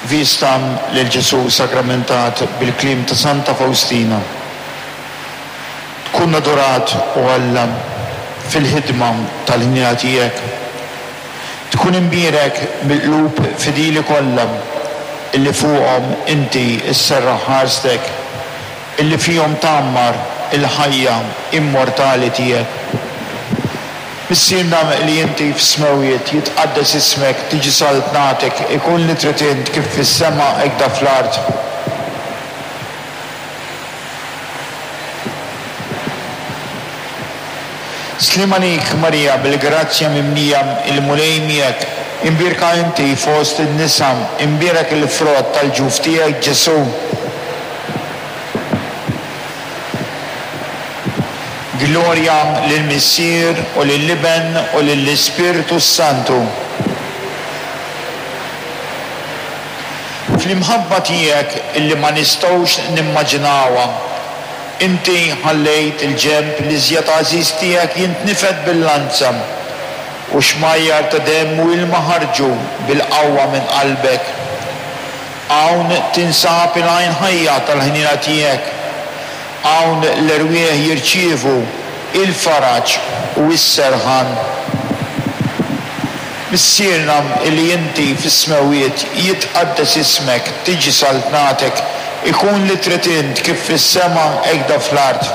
Vista lil Ġesù Sagramentat bil-kliem ta' Santa Fawstina. Tkun adorat, o Alla, fil-ħidma tal-ħniena tiegħek. Tkun imbierek mill-qlub fidili kollha illi fuqhom inti sserraħ ħarstek, illi fihom tgħammar il-ħajja immortali tiegħek. Missierna li inti fis-smewwiet, jitqaddes ismek, tiġi saltnatek, ikun li trid int kif fis-sema hekda fl-art. Sliem għalik Marija bil-grazzja mimlija, il-Mulej miegħek, imbierka inti fost in-nisa, imbierek il-frott tal-ġuf tiegħek Ġesù. Glorja lill-Missier u lill-Iben u lill-Ispirtu s-Santu. Fl-imħabba tiegħek illi ma nistgħux nimmaġinawha, inti ħallejt il-ġenb l-iżjed għażiż tiegħek jintnifed bil-lanza, u xmajjar ta' demm u ilma ħarġu bil-qawwa minn qalbek. Hawn tinsab il-għajn ħajja tal-ħniena tiegħek. Hawn l-erwieħ jirċievu il-faraġ u s-serħan. Missierna li inti fis-smewwiet, jitqaddes ismek, tiġi saltnatek, ikun li trid int kif fis-sema hekda fl-art.